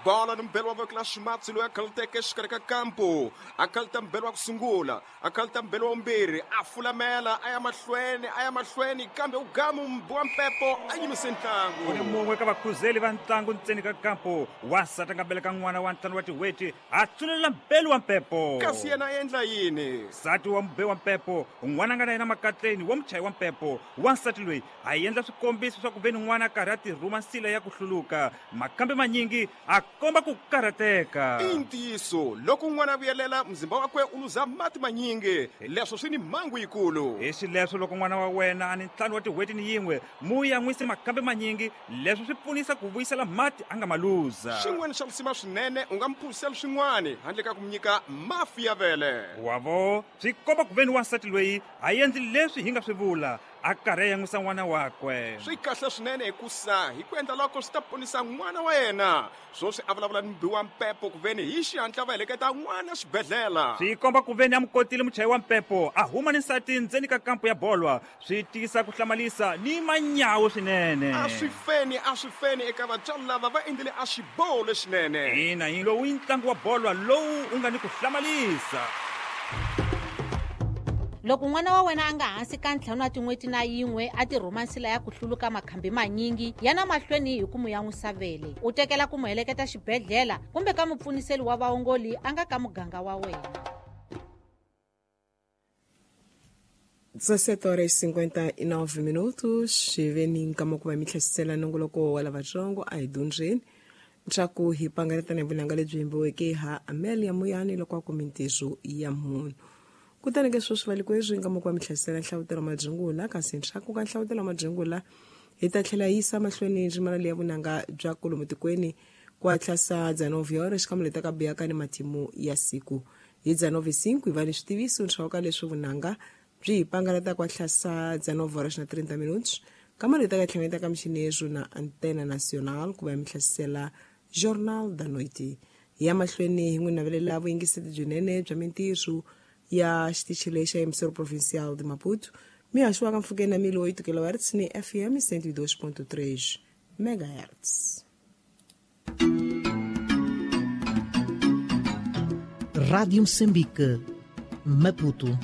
Bola ni mbelo wa voko la ximatsi loyi a khaluteke exikarhi ka kampo, a khaluta mbelo wa ku sungula, a khaluta mbelo wa vumbirhi, a fulamela a ya mahlweni, a ya mahlweni, kambe u gamu mbi wa mpepo a yimise ntlangu. Ku ni mun'we ka vakhuzeli va ntlangu ntseni ka kampo, wansati a nga beleka n'wana wa ntlhanu wa tin'hweti, a tsunelela mbelu wa mpepo. Kasi yena a endla yini? Nsati wa mube wa mpepo, n'wana a nga na yena makatleni wa muchayi wa mpepo, wansati loyi a endla swikombiso swa ku ve ni n'wana a karhi a tirhuma nsila ya ku hluluka, makambe manyingi a komba ku karhateka. I ntiyiso, loko n'wana a vuyelela, muzimba wakwe u luza mati manyingi. Leswo swi ni mhangu yikulu. Hi xileswo, loko n'wana wa wena a ni ntlhanu wa tin'hweti ni yin'we, mu yan'wise makambe manyingi. Leswo swi pfunisa ku vuyisela mati a nga ma luza. Xin'wana xa lisima swinene, u nga mu phuzisela swin'wana handle ka ku mu nyika mafi ya vele. Wa vo, swi komba ku ve ni wansati loyi a endli leswi hi nga swi vula, a karhi a yan'wisa n'wana wakwe. Swi kahle swinene hikusa hi ku endla loko swi ta ponisa n'wana wa yena. Swoswi a vulavula ni mubi wa mpepo ku veni hi xihatla va heleketa n'wana xibedhlela. Swi komba ku veni a mu kotile muchayi wa mpepo a huma ni nsati ndzeni ka kampo ya bolwa. Swi tisa ku hlamalisa ni manyawu swinene. A swi feni, a swi feni eka vatswari lava va endlile a xiboho lexinene. Ina, hi lowu i ntlangu wa bolwa lowu u nga ni ku hlamalisa. Loko n'wana wa wena a nga hansi ka ntlhanu wa tin'hweti na yin'we a tirhuma nsila ya ku hluluka makhambi manyingi, yana mahlweni hi ku mu yan'wisa vele, u tekela ku mu heleketa xibedhlela kumbe ka mupfuniseli wa vaongoli a nga ka muganga wa wena. 17 horas e 59 minutos xiveni nkama ku va mi tlhesisela nongoloko wa lavatsongo a hi dyondzeni leswaku hi pangaletana hi vunanga lebyi yimbiweke ha Amelia Muyani loko a ku mintirho ya munhu. Kutani ke sweswi valikwerhu nkama ku va mi tlhesisela nhlavutelo wa madyungula, kasi ndzhaku ka nhlavutelo wa madyungula hi ta tlhela hi yisa mahlweni ndzimana leya vunanga bya kolomu tikweni ku hatlasa 19 horas xikamwe leta ka buyaka ni matimu ya siku. Hi 19:05 hi va ni switiviso ndzhaku ka leswi vunanga byi hi pangalata ku hatlasa 19 horas na 30 minutos kama leta ka tlhangeta ka michinezo na Antena Nacional ku va mi hlasela Jornal da Noite. Hi ya mahlweni hi n'wi navelela vuyingiseti byinene bya mintirho ya xitichi lexa Emissora Provincial de Maputo, mi haxiwaka mpfhukeni na 1008 kHz ni FM 102.3 MHz. Rádio Moçambique, Maputo.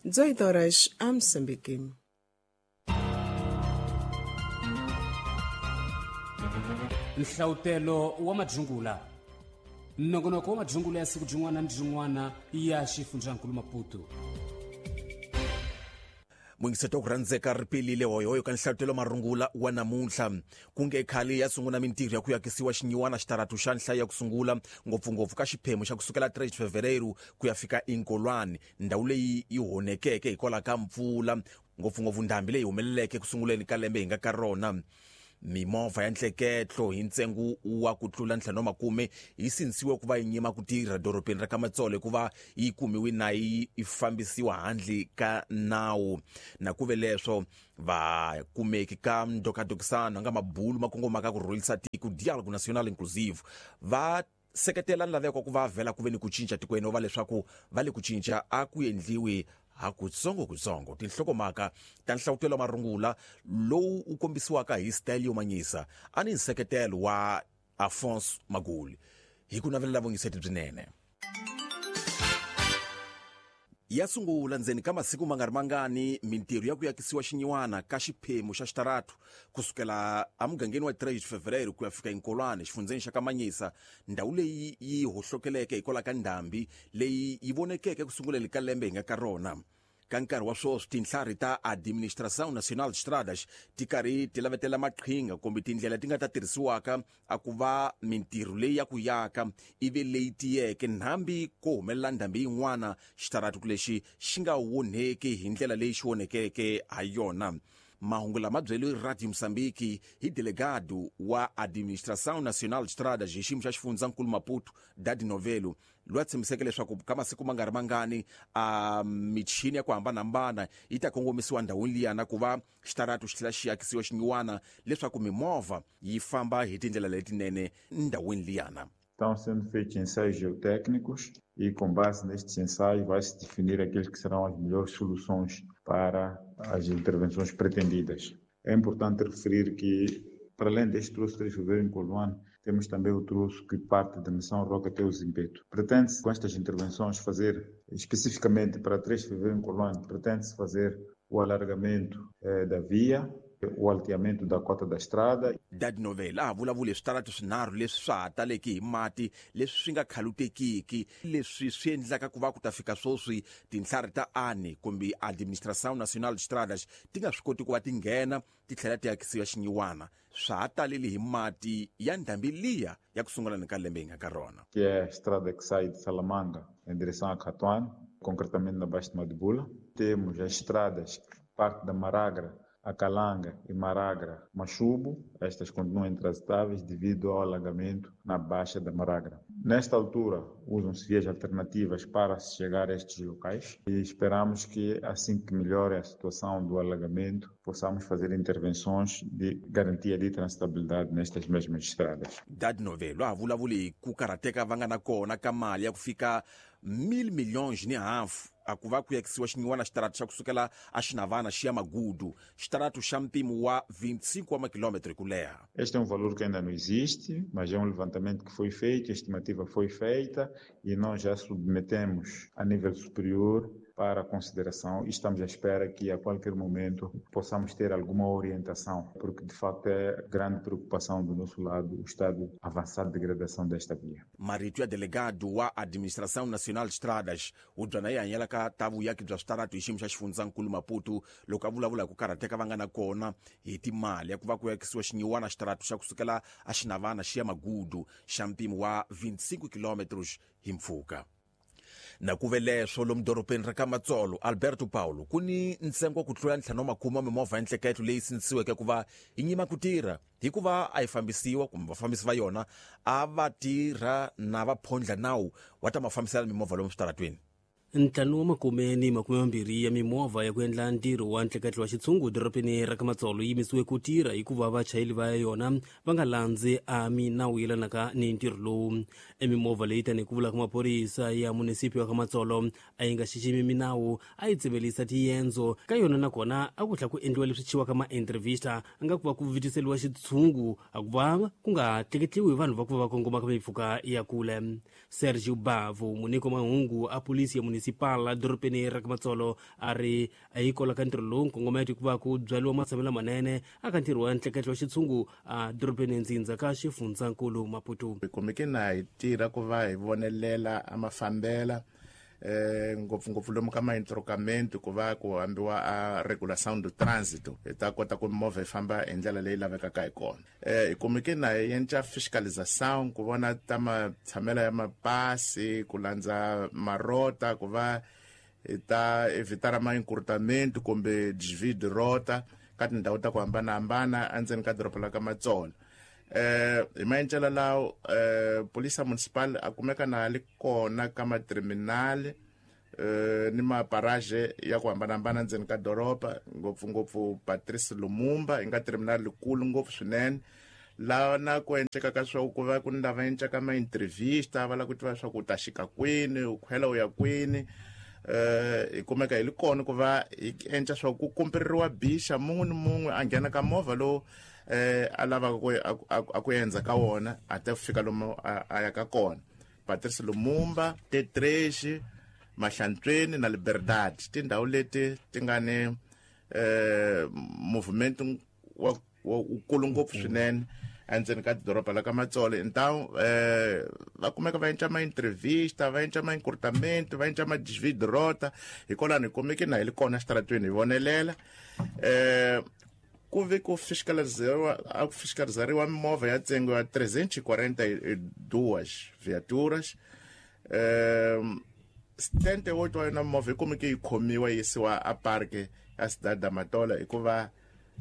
18 horas a Moçambique. Nhlavutelo wa madyungula, nongonoko wa madyungula ya siku byin'wana ni byin'wana ya xifundzankulu Maputo. Muyingiseti wa ku rhandzeka ri pelile hoyohoyo ka nhlavutelo marungula wa namuntlha. Ku nge khale ya sungula mintirho ya ku yakisiwa xinyiwana xitaratu xa nhlayo ya ku sungula, ngopfungopfu ka xiphemu xa ku sukela 3 Fevereiro ku ya fika Inkolwane, ndhawu leyi yi honekeke hikwalaho ka mpfula, ngopfungopfu ndhambi leyi humeleleke ku sunguleni ka lembe hi nga ka rona. Mimovha ya ntleketlo hi ntsengo wa ku tlula ntlhanu wa makume yi sindzisiwe ku va yi nyima ku tirha dorobeni ra ka Matsolo hikuva yi kumiwe na yi fambisiwa handle ka nawu. Na ku ve leswo vakumeki ka ndokadokisano nga mabulu ma kongomaka ku rhulisa tiko Dialogue National Inclusive va seketela nlaveko ku va vhela ku ve ni ku cinca tikweni va leswaku va le ku cinca a ku endliwi hakutsongokutsongo. Tinhlokomhaka ta nhlavutelo wa marungula lowu wu kombisiwaka hi style yo manyisa a ni nseketelo wa Afonso Maguli hi ku navelela vuyingiseti byinene. Ya sungula ndzeni ka masiku ma nga ri mangani mintirho ya ku yakisiwa xinyiwana ka xiphemu xa xitaratu kusukela emugangeni wa 3 Fevereiro ku ya fika eNkolwane xifundzheni xa ka Manyisa, ndhawu leyi yi hohlokeleke hikwalaho ka ndhambi leyi yi vonekeke ku sunguleni ka lembe hi nga ka rona. Ka nkarhi wa swoswi tintlhari ta Administração Nacional de Estradas ti karhi ti lavetela maqhinga kumbe tindlela ti nga ta tirhisiwaka a ku va mintirho leyi ya ku yaka ivi leyi tiyeke nhambi ko humelela ndhambi yin'wana xitaratu lexi xi nga wonheki hi ndlela leyi xi wonhekeke ha yona. Mahungu lama byeriwe Radio Moçambique hi delegado wa Administração Nacional de Estradas hi xiyimo xa xifundzankulu Maputo, Dadi Novelo, loyi a tshembiseke leswaku ka masiku ma nga ri mangani a michini ya ku hambanahambana yi ta kongomisiwa ndhawini liyana ku va xitaratu xi tlhela xi akisiwa xinyiwana leswaku mimovha yi famba hi tindlela letinene ndhawini liyana. Estão sendo feitos ensaios geotécnicos e, com base nestes ensaios, vai-se definir aqueles que serão as melhores soluções para as intervenções pretendidas. É importante referir que Para além deste troço 3 de Fevereiro em Coluane, temos também o troço que parte da Missão Roca até o Zimpeto. Pretende-se, com estas intervenções, fazer, especificamente para 3 de Fevereiro em Coluane, pretende-se fazer o alargamento da via, o alteamento da cota da estrada. Dad Novela a vulavula switarati swinharhu leswi swa ha taleke hi mati leswi swi nga khalutekiki leswi swi endlaka ku va ku ta fika sweswi tinhlari ta ANE kumbe Administração Nacional de Estradas ti nga swi koti ku va ti nghena ti tlhela ti akisiwa xinyiwana swa ha talele hi mati ya ndhambi liya ya ku sungula ni ka lembe hi nga ka rona. Que é a estrada que sai de Salamanga em direção a Catuane, concretamente na Baixa de Madibula. Temos as estradas que partem da Maragra a Calanga e Maragra, Machubo, estas continuam intransitáveis devido ao alagamento na Baixa da Maragra. Nesta altura, usam-se vias alternativas para se chegar a estes locais e esperamos que, assim que melhore a situação do alagamento, possamos fazer intervenções de garantia de transitabilidade nestas mesmas estradas. Dad Novelo a vulavuli ku karhateka va nga na kona ka mali ya ku fika 1.5 milhões a ku va ku yakisiwa xinyiwana xitaratu xa kusukela a Xinavana xi ya Magudu, xitaratu xa mpimo wa 25 wa makilometro ku leha. Este é um valor que ainda não existe, mas é um levantamento que foi feito, a estimativa foi feita e nós já submetemos a nível superior para consideração e estamos à espera que a qualquer momento possamos ter alguma orientação, porque de facto é grande preocupação do nosso lado o estado avançado de degradação desta via. Marito ya delegado wa Administração Nacional de Estradas u byana yi hanyela ka ta vuyaki bya switaratu hi xiyimo xa xifundzankulu Maputo loko a vulavula hi ku karhateka va nga na kona hi timali ya ku va ku yakisiwa xinyiwana xitaratu xa kusukela a Xinavana xi ya Magudu xa mpimo wa 25 kilometros hi mpfhuka. Na ku ve leswo lomu dorobeni ra ka Matsolo Alberto Paulo ku ni ntsengo ku tlula 50 mimovha ya nhleketlo leyi sindzisiweke ku va yi nyima ku tirha hikuva a yi fambisiwa kumbe vafambisi va yona a va tirha na vaphondla nawu wa ta mafambisela mimovha lomu switaratweni. 520 ya mimovha ya ku endla ntirho wa ntleketlo wa xitshungu dorobeni ra ka Matsolo yi yimisiwe ku tirha hikuva vachayeri va yona va nga landzi a minawu yelanaka ni ntirho lowu. Emimovha leyi tanihi ku vula ka maphorisa ya munisiphi wa ka Matsolo a yi nga xiximi minawu, a yi tsemelisa tiyendzo ka yona nakona a ku tlhela ku endliwa leswi chiwaka ma-entrevista a nga ku va ku vitiseliwa xitshungu a ku va ku nga tleketliwi vanhu va ku va va kongoma ka mipfhuka ya kule. Sergio Bavo, muniko mahungu a polisi ya municipal dorobeni ra ka Matsolo a ri a yi kola ka ntirho lowu nkongometo ku va ku byariwa matshamelo manene aka ntirho wa ntleketlo wa xitshungu a dorobeni ndzindza ka xifundzankulu Maputo. Hi kumeke na hi tirha ku va hi vonelela a mafambela ngopfungopfu lomu ka maintrokamento ku va ku hambiwa a regulação do trânsito hi ta kota ku mimovha yi famba hi ndlela leyi lavekaka hi kona. Hi kumeke na hi endla fiscalização ku vona ta matshamelo ya mapasi ku landza marota ku va hi ta evitar ma-encurtamento kumbe desvio de rota ka tindhawu ta ku hambanahambana endzeni ka doroba la ka Matsolo. Hi maendlelo lawo polisa municipal a kumeka na li kona ka materminal ni maparage ya ku hambanahambana ndzeni ka doroba, ngopfungopfu Patrice Lumumba yi nga terminal likulu ngopfu swinene laha na ku endleka ka swa ku va ku ni lava endlaka ma-entrevista va lava ku tiva swa ku u ta xika kwini u khwela u ya kwini. Hi kumeka hi li kona ku va hi endla swa ku kumperiwa bixa mun'we ni mun'we a nghena ka movha lowu a lavaka ku a ku endza ka wona a ta fika lomu a ya ka kona. Patrice Lumumba, T3, Mahlantsweni na Liberdade tindhawu leti ti nga ni movement wa wukulu ngopfu swinene endzeni ka doroba la ka Matsolo. Então va kumeka va endla ma-entrevista va endla ma-encurtamento va endla ma-desvio de rota hikwalano hi kumeke na hi li kona xitaratweni hi vonelela. Ku ve ku fiscalizariwa a ku fiscalizariwa mimovha ya ntsengo ya 342 viaturas. 78 wa yona mimovha yi kumeke yi khomiwa yi yisiwa a parke ya Cidade da Matola hikuva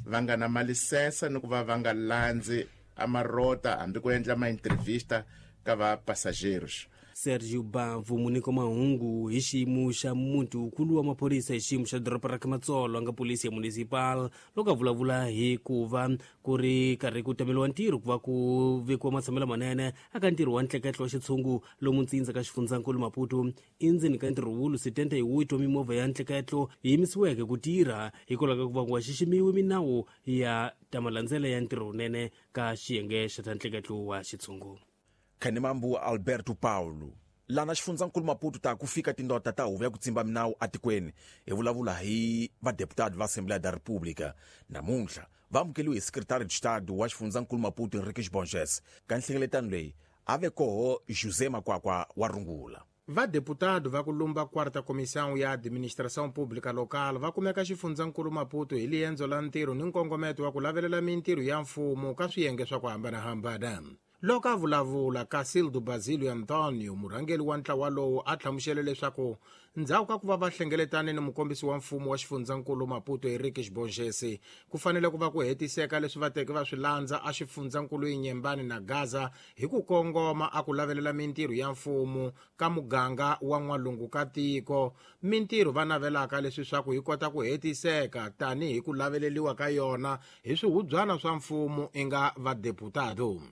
va nga na malisensa ni ku va va nga landzi a marota hambi ku endla ma-entrevista ka va passageiros. Sergio Bavu muniko mahungu hi xiyimo xa muti wukulu wa maphorisa hi xiyimo xa doroba ra Kamatsolo a nga polisi ya municipal loko a vulavula hi ku va ku ri karhi ku tameliwa ntirho ku va ku vekiwa matshamelo manene aka ntirho wa ntleketlo wa xitshungu lomu ntsindza ka xifundzankulu Maputo endzeni ka ntirho wulu 78 wa mimovha ya ntleketlo yi yimisiweke ku tirha hikwalaho ka ku va ku nga xiximiwi minawu ya ta malandzela ya ntirho wunene ka xiyenge xa ta ntleketlo wa xitshungu. Khanimambu Alberto Paulo lana xifundzankulu Maputo ta ku fika tindota ta huvo ya ku tsimba minawu atikweni hi vulavula hi vadeputado va Assembleia da República namuntlha va amukeliwe hi secretary de Estado wa xifundzankulu Maputo Henriques Borges. Ka nhlengeletano leyi a ve koho José Makwakwa wa rungula. Vadeputado va ku lumba quarta comissão ya administração pública local va kumeka xifundzankulu Maputo hi liendzo la ntirho ni nkongometo wa ku lavelela mintirho ya mfumo ka swiyenge swa ku hambanahambana. Loko a vulavula Casildo Basilio Antonio, murhangeri wa ntlawa lowu, a hlamusele leswaku ndzhaku ka ku va va hlengeletane ni mukombisi wa mfumo wa xifundzankulu Maputo Henriques Borges, ku fanele ku va ku hetiseka leswi va teke va swi landza a xifundzankulu Inhambane na Gaza hi ku kongoma a ku lavelela mintirho ya mfumo ka muganga wa n'walungu ka tiko, mintirho va navelaka leswi swa ku yi kota ku hetiseka tanihi ku laveleliwa ka yona hi swihubyana swa mfumo i nga vadeputado.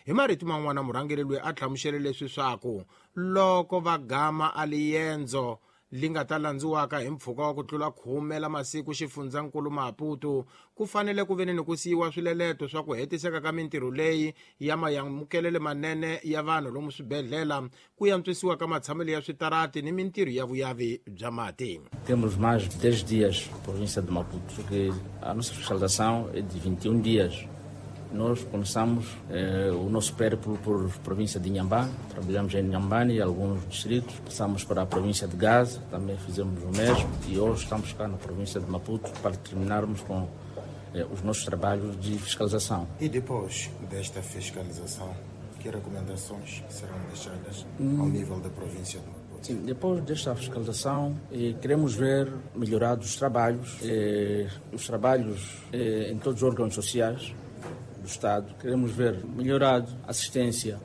Hi marito man'wana murhangeri loyi a hlamusele leswi swaku loko va gama a liendzo li nga ta landziwaka hi mpfhuka wa ku tlula 10 la masiku xifundzankulu Maputo, ku fanele ku veni ni ku siyiwa swileleto swa ku hetiseka ka mintirho leyi ya mayamukelele manene ya vanhu lomu swibedhlele, ku yantswisiwa ka matshamelo ya switarati ni mintirho ya vuyavi bya mati. Temos mais de 10 dias na província de Maputo, porque a nossa fiscalização é de 21 dias. Nós começamos o nosso périplo por província de Inhambane, trabalhamos em Inhambane e alguns distritos, passamos para a província de Gaza, também fizemos o mesmo, e hoje estamos cá na província de Maputo para terminarmos com os nossos trabalhos de fiscalização. E depois desta fiscalização, que recomendações serão deixadas ao nível da província de Maputo? Sim, depois desta fiscalização, queremos ver melhorados os trabalhos, em todos os órgãos sociais do Estado. Queremos ver melhorado a assistência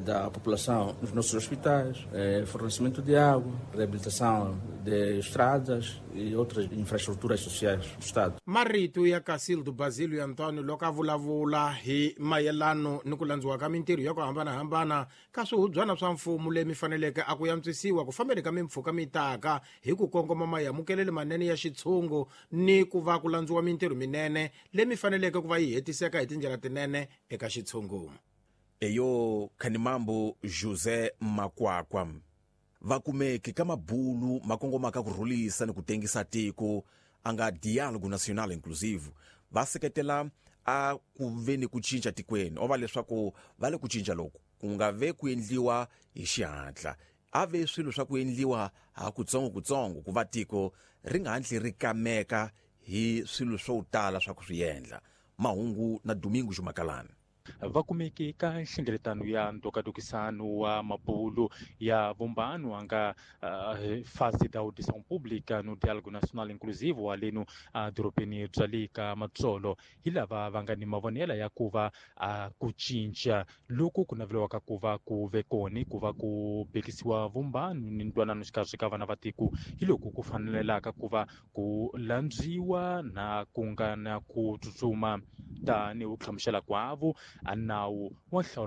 da população nos nossos hospitais, fornecimento de água, reabilitação de estradas e outras infraestruturas sociais do Estado. Marito ya Casildo Basilio Antonio loko a vulavula hi mayelano ni ku landziwa ka mintirho ya ku hambanahambana ka swihubyana swa mfumo leyi mi faneleke a ku yantswisiwa ku fambeni ka mimpfhuka mitaka hi ku kongoma mayamukelele manene ya xitshungu ni ku va ku landziwa mintirho minene leyi mi faneleke ku va yi hetiseka hi tindlela tinene eka xitshungu. Eyo Khanimambo José Makwakwa vakumeke ka mabulu makongomaka ku rhulisa ni ku tengisa tiko a nga Diálogo Nacional Inclusivo va seketela a ku ve ni ku cinca tikweni o va leswaku va le ku cinca loku ku nga ve ku endliwa hi xihatla, a ve swilo swa ku endliwa ha kutsongo ku va tiko ri nga hatli ri kameka hi swilo swo tala swa ku swi endla. Mahungu na Domingo Jumakalani. Va kumeke ka nhlengeletano ya ntokatokisano wa mabulu ya vumbano a nga fase da audição pública no Diálogo Nacional Inclusivo wa leno dorobeni bya le ka Matsolo hi lava va nga ni mavonelo ya ku va ku cinca loku ku naveliwaka ku va ku ve kona ku va ku bekisiwa vumbano ni ntwanano xikarhi ka vana va tiko hi loko ku fanelelaka ku va ku landziwa na ku nga na ku tsutsuma tanihi ku hlamusela kwavo a nawu wa nhlawulo.